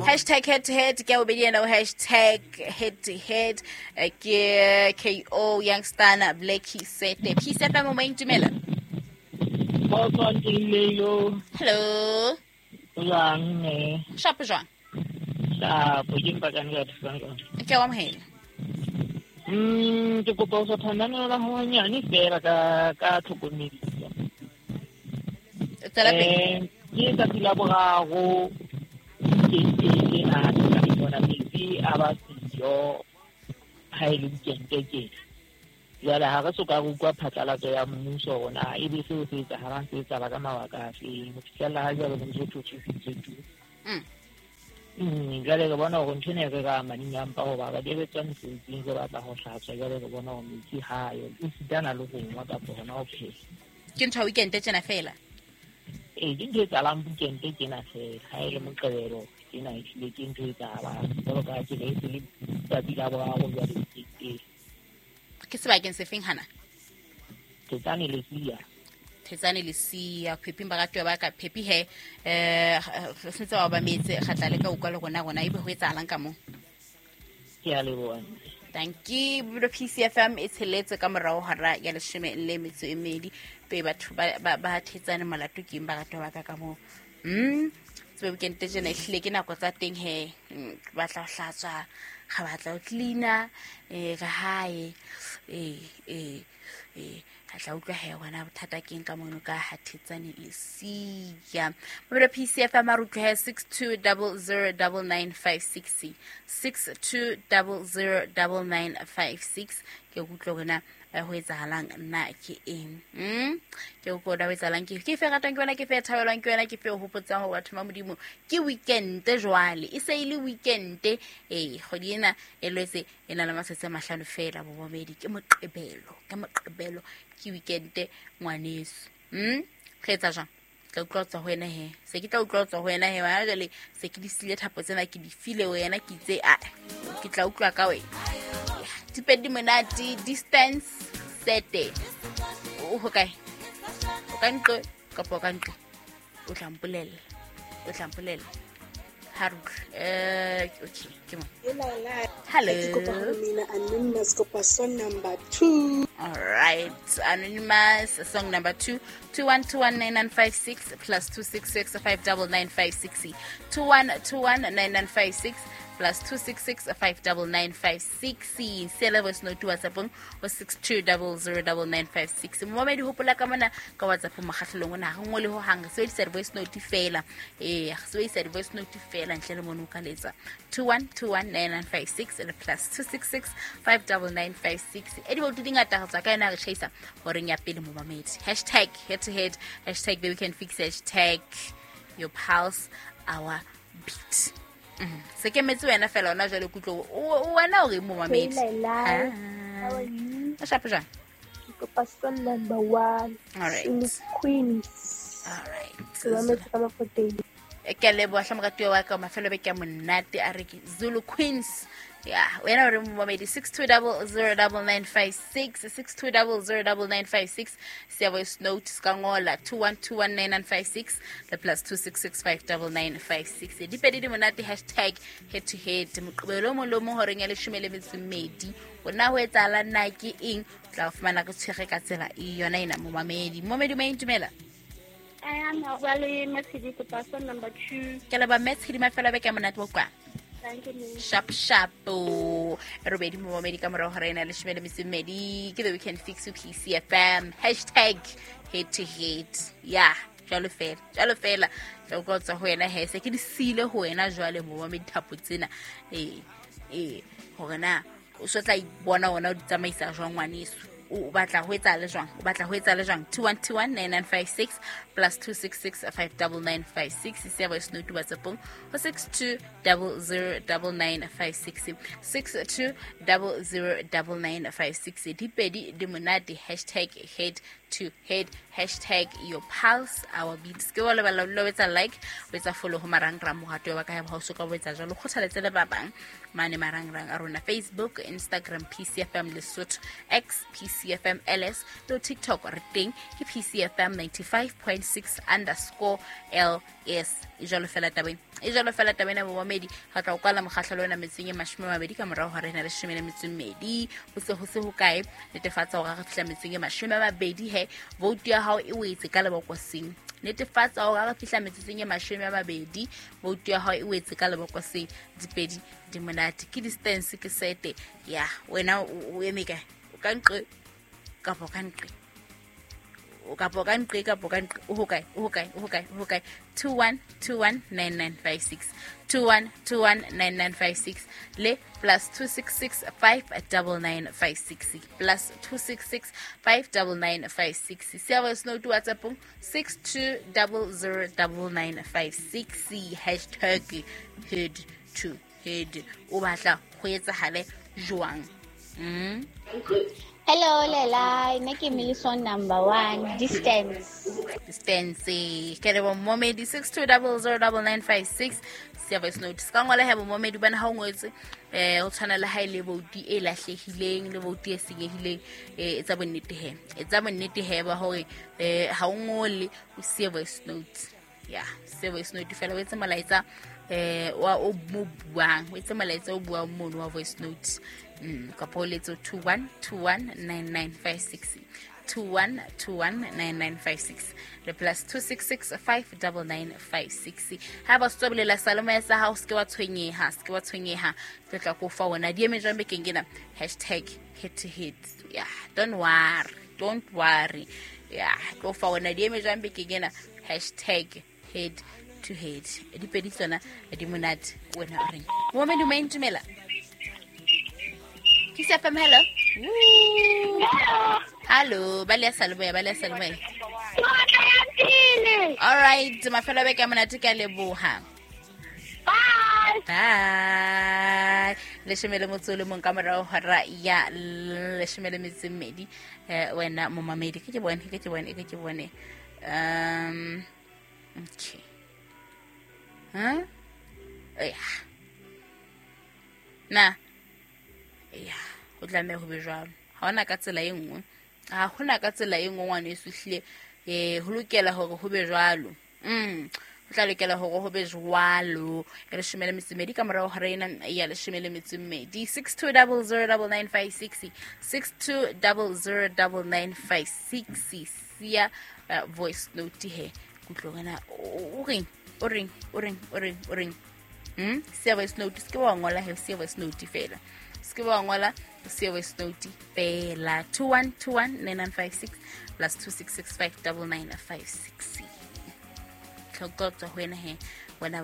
Hashtag head to head ke ya bobedi ena, hashtag head to head ke ko Youngstana Blacky Sete Peace FM, mo intumela. Hello. Jwang ne? Shapo jwang? Shapo, ke mpakane ka thusang ka. Ke a o amohela. Ke kopa ho sotha la ho nyane fela ka tlhokomediso. Tswela pele. Ke tsatsi la boraro ke na ka bona metsi a ba siyo ha e le weekend ke. Jwale ha re soka re utlwa phatlalatso ya mmuso rona ebe seo se etsahalang se etsahala ka mabaka a feng. Ho fihlella ha jwale ho ntso thotse tu. Jwale re bona hore ntho ena e re ka mading a mpa hoba re re tswa mosebetsing re batla ho hlatswa, jwale re bona hore metsi ha ayo esitana le ho nwa kapa hona ho pheha. Ke ntho ya weekend tjena fela? Ee, ke ntho e etsahalang weekend tjena fela. Ha e le Moqebelo tjena ehlile ke ntho e etsahalang. Jwalo ka ha ke re e se le tsatsi la boraro jwale weekend. Ke sebakeng se feng hana? Thetsane Lesia. Thetsane Lesia, Pheping baratuwa ba ka Phepi he. Re sentse ba ba metse kgatla le ka utlwa le rona rona ebe ho etsahalang ka mo. Ke a leboha. Thank you. Bophelo PCFM e tsheletse ka morao hora ya 12. Pe batho ba Thetsane molato ke eng baratuwa ba ka ka mo. Tsebe weekend tjena ehlile ke nako tsa teng he. Ke batla ho hlatswa, ga batla ho cleaner, re hae. Ka tla utlwa he wena bothata ke eng ka mono ka ha Thetsane Lesia. Bophelo PCFM a re utlwe he 62009956. 62009956. Ke utlwe hore na ho etsahalang nna ke eng. Ke utlwe hore na ho etsahalang ke eng. Ke fe ratang ke wena, ke fe thabelwang ke wena, ke fe hopotsang hore batho ba Modimo ke weekend jwale. E se e le weekend. Kgwedi ena e lwetse e na le matsatsi a 5 fela bobedi ke Moqebelo. Ke Moqebelo ke weekend ngwaneso. Re etsa jwang? Tla utlwa tswa ho wena he. Se ke tla utlwa tswa ho wena he. Wa jwale se ke di sile thapo tsena ke di file wena ke itse a ke tla utlwa ka wena. Dipedi monate distance sete. O ho kae? O ka ntle kapa o ka ntle? O tla mpolella. O tla mpolella. Ha re utlwe. Okay, ke mo. Hello. Ke kopa ho mina anonymous kopa song number 2. All right, anonymous song number 2, 21219956 plus 266 59956. 21219956 plus 266 59956. Sela voice note WhatsApp o 62009956. Momamedi hopola ka mona ka WhatsApp mokgahlelong ona ha re ngole ho hang, re sebedisa di-voice note fela. Re sebedisa di-voice note fela ntle le mono o ka letsa 21219956 le plus 266 59956. E di di ngata re tswa ka yona re tjhaisa horeng ya pele momamedi. Hashtag head to head, hashtag the weekend fix, hashtag your pulse our beat. Se ke metse wena fela ona jwale kutlo o wena o re momamedi. Hey, Laila. How are you? O shapo jwang? Ke kopa song number 1. All right. Zulu Queens. All right. Ke mametse ka mafoteng. Ke a leboha hle moratuwa wa ka, mafelo beke a monate a re ke Zulu Queens. Ya, wena o re momamedi 62009956, 62009956. Siya voice note ska ngola 21219956 le plus 266 59956. Dipedi di monate hashtag head to head. Moqebelo o mong le o mong horeng ya 12. Ona ho etsahala na ke eng? O tla fumana re tshwere ka tsela e yona ena momamedi. Momamedi o intumela. I am Wale Matshedi kopa song number 2. Ke leboha Matshedi, mafelo a beke a monate wa kwa. Thank you, ma'am. Sharp, sharp. Robedi momamedi ka morao hora ena 12. Ke the weekend fix with PCFM. Hashtag head to head. Ya, jwalo fela, jwalo fela. Tla utlwa tswa ho wena he. Se ke di siile ho wena jwale momamedi thapo tsena. Hore na o so tla ipona wena o di tsamaisa jwang ngwaneso. O batla ho etsa le jwang? O batla ho etsa le jwang? 21219956 plus 266 59956. Siya voice note WhatsApp-ong ho 62009956. 62009956. Dipedi di monate hashtag head to head, hashtag your pulse our beats. Ke wa lebala lo etsa like, o etsa follow ho marangrang mohato wa ka ha o soka o etsa jwalo, kgothaletse le ba bang mane marangrang a rona, Facebook, Instagram PCFM Lesotho, X PCFM LS, le TikTok re teng ke PCFM 95.6 underscore LS. E jwalo fela tabeng, e jwalo fela tabeng ya bomamedi. Ga tla o kwala mokgahlelo ona metseng e 20 ka morago ga rena 12, ho se ho se ho kae. Netefatsa hore re fihla metseng e 20 he vote ya hao e wetse ka lebokoseng. Netefatsa hore re fihla metsotsong e 20 vote ya hao e wetse ka lebokoseng. Dipedi di monate, ke distance ke sete ya wena o eme kae, o ka nqe kapa o ka nqe, o kapa o ka nqe kapa o ka nqe, o hokae, o hokae, o hokae, o hokae. 21219956, 21219956 le plus 266 59956, plus 266 59956. Siya voice note WhatsApp 62009956, hashtag head to head. O batla ho etsahale jwang? Hello, Lela. Nna ke Milison number 1. Distance. Distance. Ke re bomomedi 62009956. Siya voice note. Ska ngola he bomomedi bana ha o ngwetse o tshwana le ha ile vouti e lahlehileng le vouti e senyehileng, etsa bonnete he. Etsa bonnete he ba hore ha o ngole o siya voice note. Ya, siya voice note fela o etse molaetsa wa o mo buang, o etse molaetsa o buang mono wa voice note. Kapa o letse 21219956, 21219956 le plus 266 59956. Ha ba stoblela saloma sa ha o ske wa tshwenyeha, ske wa tshwenyeha, ke tla go fa wona di eme jwang bekeng ena, hashtag head to head. Yeah, don't worry, don't worry. Yeah, go fa wona di eme jwang bekeng ena, hashtag head to head. Dipedi tsona di monate, wena o reng? Momedi o maintumela. PCFM, hello. Hello, ba le salomoya, ba le salomoya. All right, mafelo a beke a monate, ke a leboha. Bye. Bye. Leshome le motso le mong ka morao hora ya 12. Wena momamedi, ke bone, ke bone, ke bone. Okay. Huh? Yeah. Na. Ya, ho tlameha ho be jwalo. Ha hona ka tsela e nngwe. Ha hona ka tsela e nngwe ngwana e suhlile, ho lokela hore ho be jwalo. Ho tla lokela hore ho be jwalo. Ya 12 ka morao hora ena ya 12. 62009956, 62009956. Siya voice note he. Kutlwa wena o reng, o reng, o reng, o reng, o reng. Siya voice note, se ke wa ngola he, siya voice note fela. Se wa ngola siya voice note fela. 21219956 plus 266599956. Tlhokotsa ho wena he wena.